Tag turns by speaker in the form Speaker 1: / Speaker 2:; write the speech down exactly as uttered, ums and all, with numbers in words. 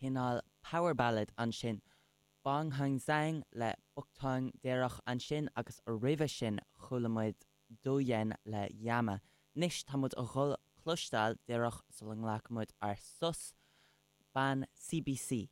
Speaker 1: Cineál power ballad ansin. Bong Hang le Bukthang déireach ansin agus roimhe sin chuala muid Doyen le Yama. Anois tá muid a dhul cloisteáil díreach sula nglacfaidh muid ár sos bean CBC.